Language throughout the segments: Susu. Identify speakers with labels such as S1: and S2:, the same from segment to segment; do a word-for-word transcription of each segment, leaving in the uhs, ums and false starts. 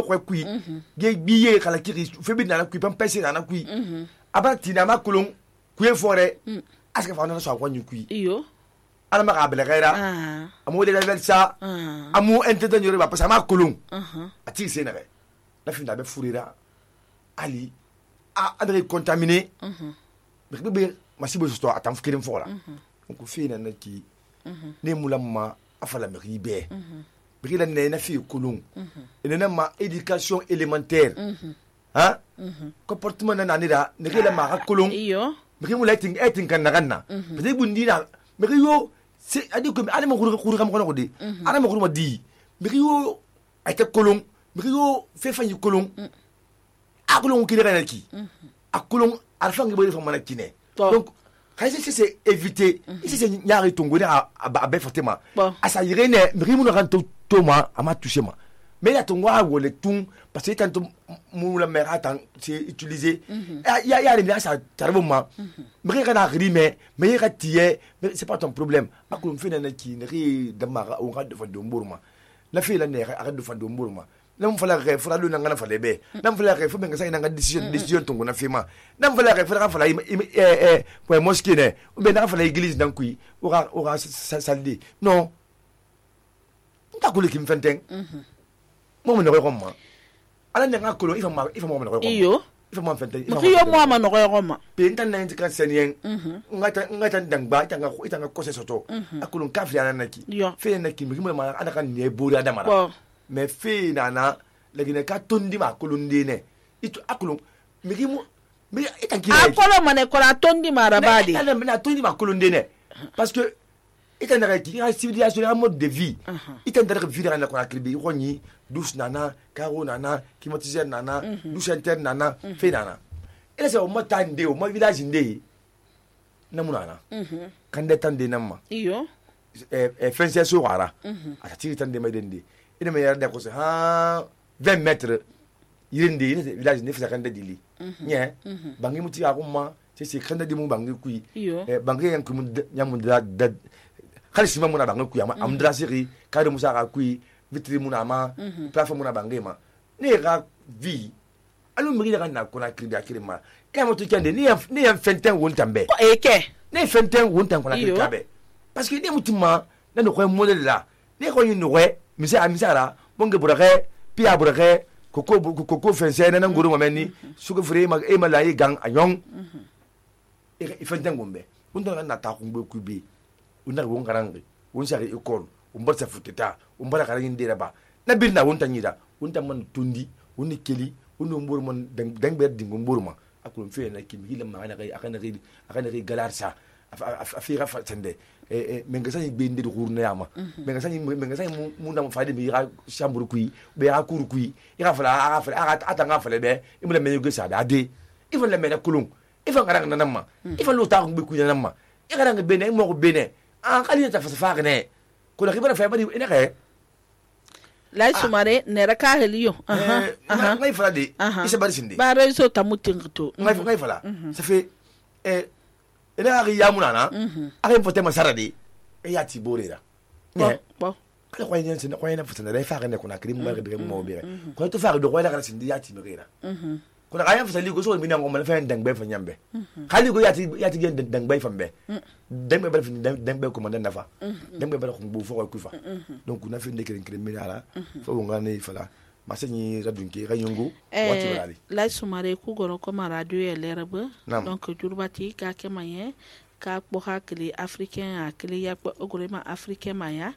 S1: ko kui ge biye kala kiri fe bi na kui pam pese na kui aba tina ma kulun kuye fore aska fa na so akwa nyi kui
S2: iyo
S1: ana ma ka belera amu de level sa amu entretenir ba pasa ma kulun ati se na be la fin da be furira ali a adre contaminé be be masibo sto atam fikirin fola ko fi na ki ne mulamma afala me ribe be la ne na fi kulun ene na ma éducation élémentaire hein comportement na nira ne la ma kulun
S2: iyo
S1: be mu la ting etin kan na ganna be bundi na be yo c'est adi ko ale mo kuru kuru kam ko de ana mo kuru mo di be yo ay te kulun be yo fe fanyi kulun a kulun ki dara ki a kulun alfa ngi be fa mana kine donc kasi c'est éviter ici c'est nyari tongo na ba fatema asa yirene mi mu na kan to toma ama toucher ma mais la tongo a wole tun parce que tanto mu la mère attend c'est utilisé il y a il y a les ça tarboma mi kana rime mais ka tie c'est pas ton problème akulum fina na ki ne da ma on ga de fa do mburma la fi la ne ga de fa do mburma nam fala re fala lu na ngana fala be nam fala re fu be ngasa nga decision decision tongo na fima nam fala re fala fala eh eh pour mosquée ne ou be na fala église dan kui ora ora saldi non nta ko le kim fenten mo mo no ko ma ala ne nga ko lo ifa ma ifa mo mo no ko
S2: iyo
S1: ifa mo fenten
S2: mo iyo mo ma no ko ma
S1: pe ntan na ntika senyen ngata ngata dangba tanga ko itanga ko se soto akulun kafri ana naki fe na kim mo ma ana kan ne bori adamara mais fe nana legine ka tondi ma kolundi ne itu akulun migi mu mi itanki
S2: a kolo mane ko la tondi ma rabadi
S1: na na tondi ma kolundi ne parce que itandara ki ha civilisation un mode de vie itandara vivre na ko akribi roni douche nana caro nana climatiseur nana douche interne nana fe nana ele se o mata nde o mo village nde na munana kande tande namma
S2: iyo
S1: eh eh fense so wara ata tiri tande mai dende ina me yarda ko se ha vingt mètres yirinde ina village ne fisa kanda dili nye bangi muti akuma c'est c'est kanda di mu bangi kui eh bangi yan kumu nyamu da da khalisi ma muna bangi kui ama amdra siri kare musa ka kui vitri muna ma plateforme muna bangi ma ne ga vi alu mi ga na ko na kribi akire ma e mo to kende ni ni en fenten won tambe
S2: e ke
S1: ne fenten won tan ko na kribi kabe parce que ni mutima na no ko modèle la ne ko ni no mise amisara bonge burake pia burake koko koko fense na nguru mameni suko fure ma e mala yi gang ayon e fenten gombe undo na ta ko ku bi unda ko ngarangi un sari école un bar sa futeta un bar kala yin dira ba na bir na wonta nyida wonta man tundi woni keli wono mbur man dang ber dingo mbur ma akulum fe na kimi hila ma na kai akana kai akana kai galarsa afira fa tende eh menga sani be ndir gurna yama menga sani menga sani mu na faade bi ra chambre kui be ra kur kui ira fala ara fala ata nga fala be imula me yugo sa da de ifa le me na kulung ifa ngara na namma ifa lu ta ngbe kui na namma ira nga be ne mo ko be ne an kali ta fa fa ne ko la khibara fa ba di ina ka
S2: la sumare ne ra ka heliyo
S1: aha aha ngai fala de isa bari sinde
S2: ba re so tamutin to
S1: ngai ngai fala ça fait eh ina ari yamuna na ari fote masara de e ya ti borera
S2: ne bo
S1: ko ko yen sin ko yen fote na fa ne ko na krim ma de mo be ko to fa do ko la kana sin ya ti merera ko na ayan fote li ko so mi na ko ma fa ndang be fa nyambe khali ko ya ti ya ti gen dang be fa be dang be fa dang be ko man na fa dang be ko bu fo ko fa donc na fi ndekere criminala fo ngane fala masenyi radunki rayungu wati balali
S2: la sumare ku goro ko ma radio e leraba donc jurbati ka ke maye ka ko hakli africain akli ya ko ogolema africain maya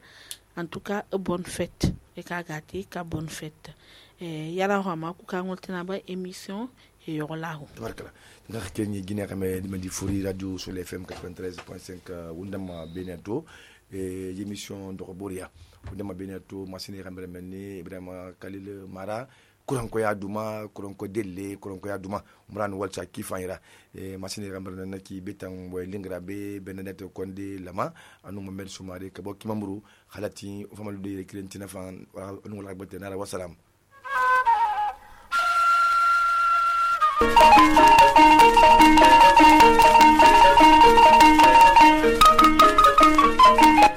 S2: en tout cas bonne fête e ka gati ka bonne fête e yara ho ma ku ka ngoltina ba émission e yolahu
S1: tabarkala nga kenyi gine kame di mandi furi radio sur le F M quatre-vingt-treize point cinq wundama beneto e émission de Roboria wundama beneto masini rambe menni Ibrahima Khalil Mara kuranko ya duma kuranko delle kuranko ya duma umran walcha kifanira e masini rambe na ki betan boy lingra be Benedette Konde lama anu Mohamed Soumare ka bokki mamru khalati famalu de kirentina fan anu wala bete na wassalam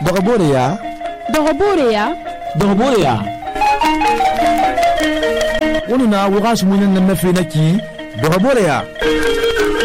S3: Dogoboria
S4: Dogoboria
S3: Dogoboria wonu na wo xa sumuɲan nan na fe na ki doxa bore ya